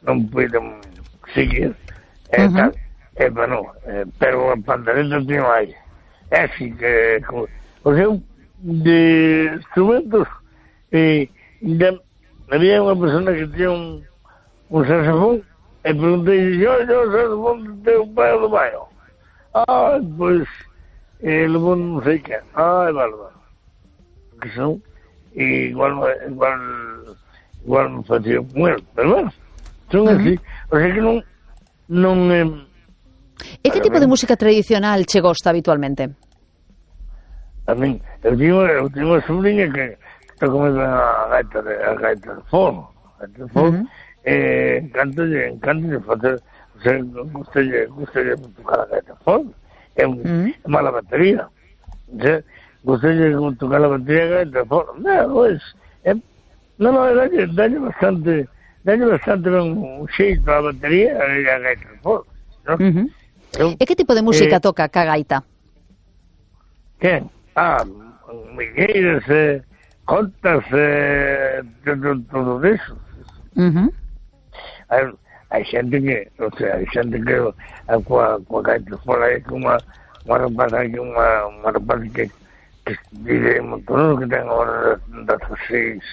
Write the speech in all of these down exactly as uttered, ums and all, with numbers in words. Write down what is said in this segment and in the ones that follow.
non puiden seguir, e uh -huh. tal, e, bueno, eh, pero a pandereta tiño aí, é así que, o seu, de instrumentos, e, de, había unha persona que tiña un, un saxofón, e preguntei, yo, yo, o saxofón de teu pai ou do baio? Ah, pois, eh, levou non sei que, ah, vale, vale, que son, e igual, igual, igual me facía con él, pero bueno, son uh -huh. así, o sea que non, non... Eh, e que tipo de música tradicional che gosta habitualmente? A min, eu tenho, eu tenho unha sobrinha que está comendo a gaita de, a gaita de forno, a gaita de forno, uh -huh. eh, encanta-lle, encanta-lle facer, o sea, gustalle, gustalle tocar a gaita de forno, é un, uh -huh. é mala batería, o sea, gustalle tocar a batería a gaita de forno, non, pois, é, non, non, dalle, dalle bastante, dalle bastante un xeito a batería e a gaita de forno, non? Uh -huh. eu, e que tipo de música eh, toca ca gaita? Que? Ah, migueiras, eh, contas, eh, todo, todo eso. Uh -huh. Hai, hai xente que, o sea, hai xente que a, coa, coa gaita fora aí que unha, unha rapaza que unha, unha rapaza que, que vive en Montoneros, que ten agora dezasseis,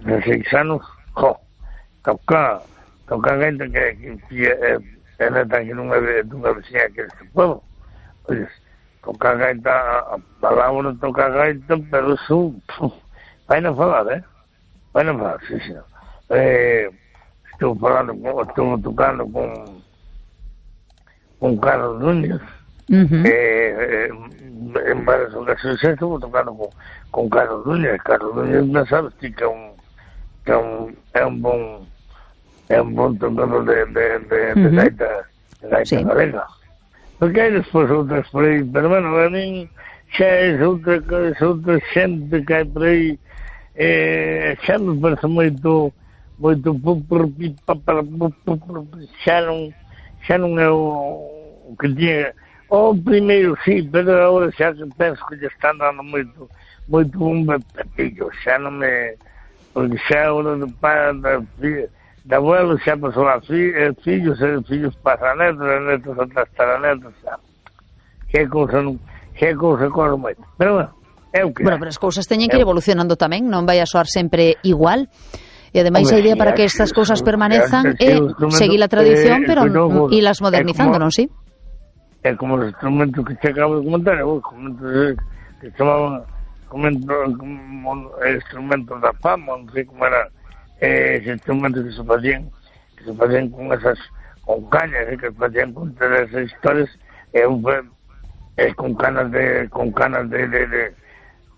dezasseis anos, jo, toca, toca a gaita que, que, que é, é neta que non é dunha vecina que este pueblo. Oye, toca a gaita, a palabra toca a gaita, pero eso, vai na falar, eh? Vai na falar, sí, sí. Eh, estou falando, con, estou tocando con con Carlos Núñez, uh -huh. eh, eh, en varias ocasiones estou tocando con, con Carlos Núñez. Carlos Núñez, non sabes, ti que é un, que é un, é un bon, é un bon tocador de, de, de, uh -huh. de gaita, de gaita sí. galega. Porque hai despois outras por aí, pero bueno, a min xa é outra, outra xente que hai por aí, eh, xa me parece moito, moito, xa non, xa non é o que tinha, o primeiro sí, pero agora xa que penso que lle están dando moito, moito un pepillo, xa non me, porque xa agora de pai, da filha, de abuelo xa pasou a fi, fillos, e fillos para netos, e netos atrás para netos, xa. Que cousa non, que cousa corre moito. Pero bueno, é o que bueno, pero as cousas teñen que ir evolucionando tamén, non vai a soar sempre igual. E ademais a idea para que estas cousas permanezan é seguir a tradición, pero ilas modernizando, non si? É como os instrumentos que se acabo de comentar, os instrumentos que chamaban instrumentos da fama, non sei como era, eh, ese instrumento que se facían que se facían con esas con cañas, eh, que se facían con todas esas historias, e eh, un eh, con canas de con canas de, de, de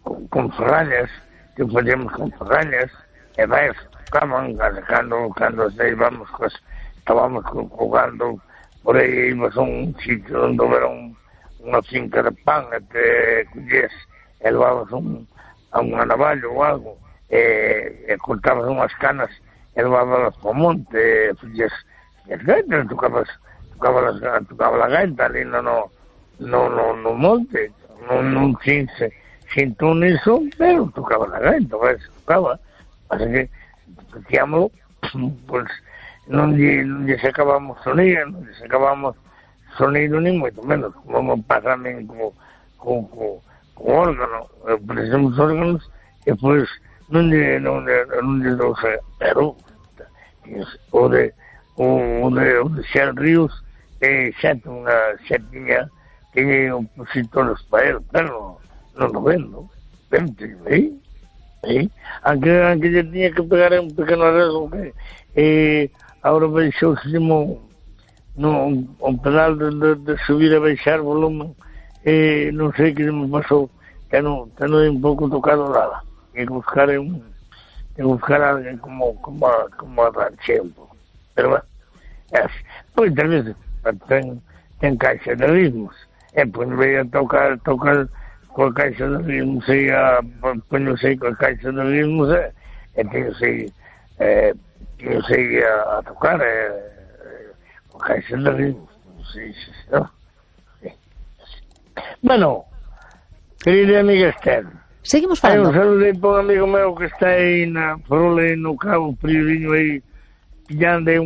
con, con ferrañas, que facíamos con ferrañas, e vai, tocaban cando, cando íbamos, pues, estábamos jugando por aí, íbamos a un sitio onde era un, unha finca de pan, e te collías e levabas un, a un navallo ou algo, e, e cortabas unhas canas e levabas para o monte, e fixes as gaitas, tocabas tocabas tocaba a gaita ali no, no, no, no monte, non, non sin, sin tú niso, pero tocaba a gaita, ves, tocaba, así que tocámoslo, pues non lle, non lle sacábamos sonido, non lle sacábamos sonido ni moito menos, como pasa tamén co, co, co, co órgano, precisamos órganos, e pois non lle, non lle, non lle dou xe, pero o de, o de, o de Xer Ríos, eh, xa unha, xa tiña, tiña opositores para él, pero non lo vendo, vente, eh, eh, aunque, aunque lle tiña que pegar un pequeno arreglo que, eh, agora baixou no, no, o pedal de, de, de subir e baixar volumen, eh, non sei que me pasou, que non, que non é un pouco tocado nada. E buscar un e buscar alguén como como como arranche un pouco, pero bueno, é, pois tamén ten, ten caixa de ritmos, e pois veio a tocar tocar coa caixa de ritmos, e a poño sei coa caixa de ritmos, e, e teño sei eh, teño sei a, a tocar e, coa caixa de ritmos, non sei se no? Sí. Bueno, querida amiga Esther, seguimos falando. Hai un saludo para un amigo meu que está aí na Frola, no Cabo Prioriño, aí pillando aí un